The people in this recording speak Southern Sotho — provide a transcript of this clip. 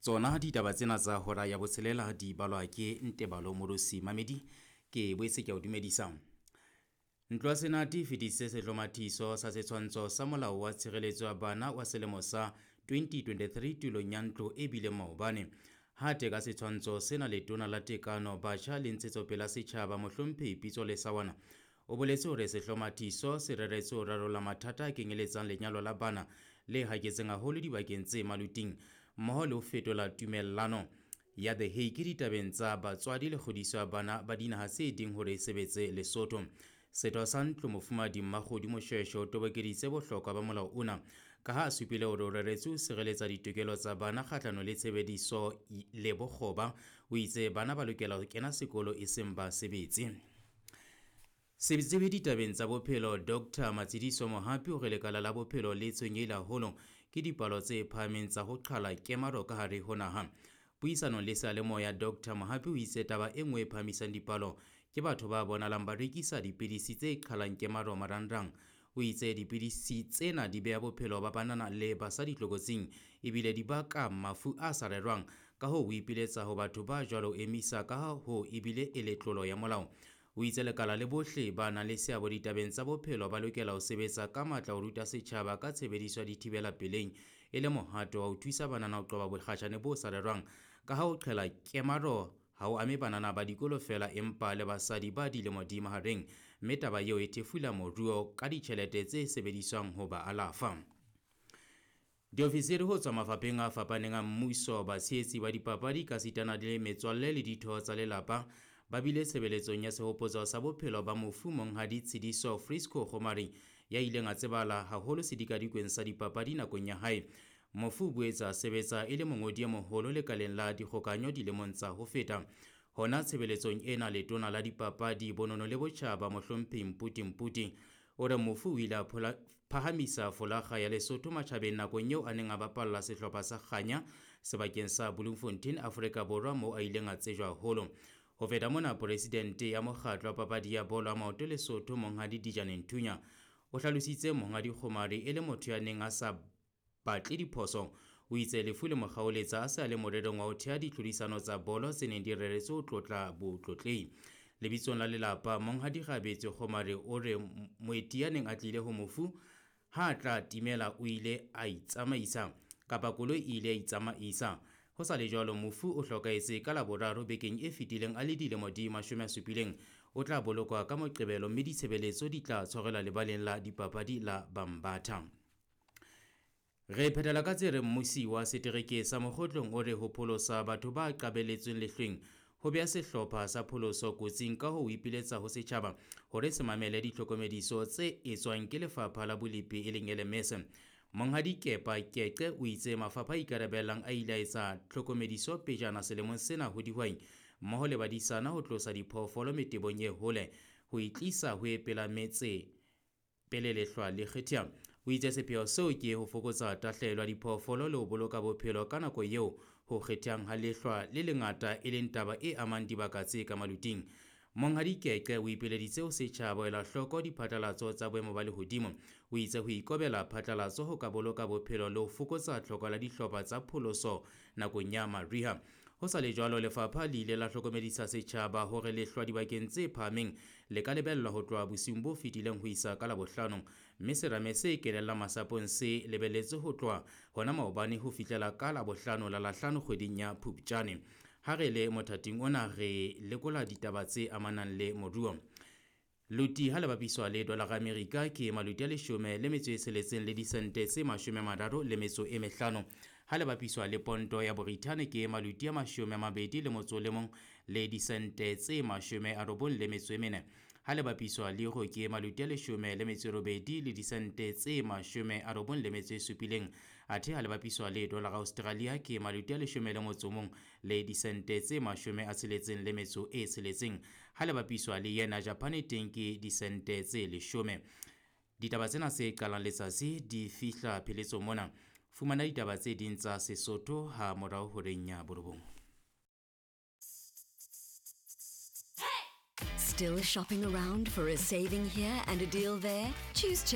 Tsona ditaba tsena tsa hora ya botshelela di balwa ke Ntebalo Morosi Mamedi, ke boetse ke a o dumedisa. Ntlo ya Senate e fetisitse sehlomathiso sa setshwantsho sa Molao wa Tshireletso ya Bana wa selemo sa 2023 tulong ya ntlo e bileng maobane. Ha teka setshwantsho sena Letona la Tekano, Batjha le Ntshetsopele ya Setjhaba Mohlomphehi Pitso Lesawana o boletse hore sehlomathiso se reretswe ho rarolla mathata a kenyeletsang lenyalo la bana le haketseng haholo dibakeng tse maluting mmoho le ho fetola tumellano ya The Hague ditabeng tsa batswadi le kgodiso ya bana ba dinaha tse ding hore e sebetse Lesotho. Setho sa ntlo Mofumahadi Mmakgodu Moshweshwe o tobokeditse bohlokwa ba molao ona ka ha a supile hore o reretswe ho sireletsa ditokelo tsa bana kgahlano le tshebediso le bokgoba. O itse bana ba lokela ho kena sekolo e seng ba sebetse. Setsebi ditabeng tsa bophelo Dr. Matshidiso Mohapi o re lekala la bophelo le tshwenyehile haholo ke dipalo tse phahameng tsa ho qhala kemaro ka hare ho naha. Puisanong le seyalemoya Dr. Mohapi o itse taba e nngwe e phahamisang dipalo ke batho ba bonahalang ba rekisa dipidisi tse qhalang kemaro marangrang. O itse dipidisi tsena di beha bophelo ba banana le basadi tlokotsing ebile di baka mafu a sa rerwang. Ka hoo o ipiletsa ho batho ba jwalo ho emisa ka ha ho ebile e le tlolo ya molao. O itse lekala le bohle ba nang le seabo ditabeng tsa bophelo ba lokela ho sebetsa ka matla ho ruta setjhaba ka tshebediso ya dithibela peleng e le mohato wa ho thusa banana ho qoba bokgatjhane bo sa rerwang ka ha ho qhela kemaro ha ho ame banana ba dikolo feela empa le basadi ba dilemo di mahareng mme taba eo e thefula moruo ka ditjhelete tse sebediswang ho ba alafa. Diofisiri ho tswa mafapheng a fapaneng a mmuso, batshehetsi ba dipapadi kasitana le metswalle le ditho tsa lelapa ba bile tshebeletsong ya sehopotso sa bophelo ba mofu Monghadi Tshidiso Frisco Kgomari ya ileng a tsebahala haholo sedikadikweng sa dipapadi nakong ya hae. Mofu o boetse a sebetsa e le mongodi e moholo lekaleng la dikgokanyo dilemong tsa ho feta. Hona tshebeletsong ena letona la dipapadi, bonono le botjhaba Mohlomphehi Mputi Mputi o re mofu o ile a phahamisa folakga ya Lesotho matjhabeng nakong eo a neng a bapalla sehlopha sa Kganya sebakeng sa Bloemfontein, Afrika Borwa moo a ileng a tsejwa haholo. Ho feta mona, presidente ya mokgatlo wa papadi ya bolo ya maoto Lesotho Monghadi Dijane Nthunya o hlalositse Monghadi Kgomari e le motho ya neng a sa batle diphoso. O itse lefu le mo kgaoletsa a se a le morerong wa ho thea ditlhodisano tsa bolo tse neng di reretswe ho tlotla botlotlehi. Lebitsong la lelapa, Monghadi Gabetse Kgomari o re moeti ya neng a tlile ho mofu ha a tla timela o ile a itsamaisa kapa koloi e ile ya itsamaisa. Ho sa le jwalo, mofu o hlokahetse ka Laboraro bekeng e fetileng a le dilemo di 70. O tla bolokwa ka Moqebelo mme ditshebeletso di tla tshwarelwa lebaleng la dipapadi la Bambatha. Re phethela ka tse reng mmusi wa setereke sa Mokgotlong o re ho pholosa batho ba qabelletsweng lehlweng ho beha sehlopha sa pholoso kotsing ka ho ipiletsa ho setjhaba hore se mamele ditlhokomediso tse etswang ke lefapha la bolepi e leng LMS. Monghadi Kepa Keqe o itse mafapha a ikarabellang a ile a etsa tlhokomediso pejana selemong sena ho dihwai mmoho le badisana ho tlosa diphoofolo metebong e hole ho itlisa ho e pela metse pele lehlwa le kgetha. O itse sepheo seo ke ho fokotsa tahlehelo ya diphoofolo le ho boloka bophelo ka nako eo ho kgethang ha lehlwa le lengata e leng taba e amang dibaka tse ka maluting. Monghadi Keqe o ipileditse ho setjhaba ho ela hloko diphatlalatso tsa boemo ba lehodimo. O itse ho ikobela phatlalatso ho ka boloka bophelo le ho fokotsa tlhoko la dihlopha tsa pholoso nakong ya mariha. Ho sa le jwalo, lefapha le ile la hlokomedisa setjhaba hore lehlwa dibakeng tse phahameng le ka lebellwa ho tloha bosiung bo fetileng ho isa ka Labohlano, mme serame se kenellang masapong se lebelletswe ho tloha hona maobane ho fihlela ka Labohlano la Lahlano kgweding ya Phupjane. Ha re le mothating ona re lekola ditaba tse amanang le moruo. Luti ha le bapiswa le dolara Amerika ke maluti a 16 le disente tse 35. Ha le bapiswa le ponto ya Borithane ke maluti a 21 le disente tse 94. Ha le bapiswa le euro ke maluti a 18 le disente tse 97. Athe ha le bapiswa le dolara Australia ke maluti a 11 le disente tse 66. Ha le bapiswa le yena Japan teng ke disente tse 10. Ditaba tsena se qalang letsatsi di fihla pheletsong mona. Fumana ditaba tse ding tsa Sesotho ha morao horeng ya 9. Still shopping around for a saving here and a deal there? Choose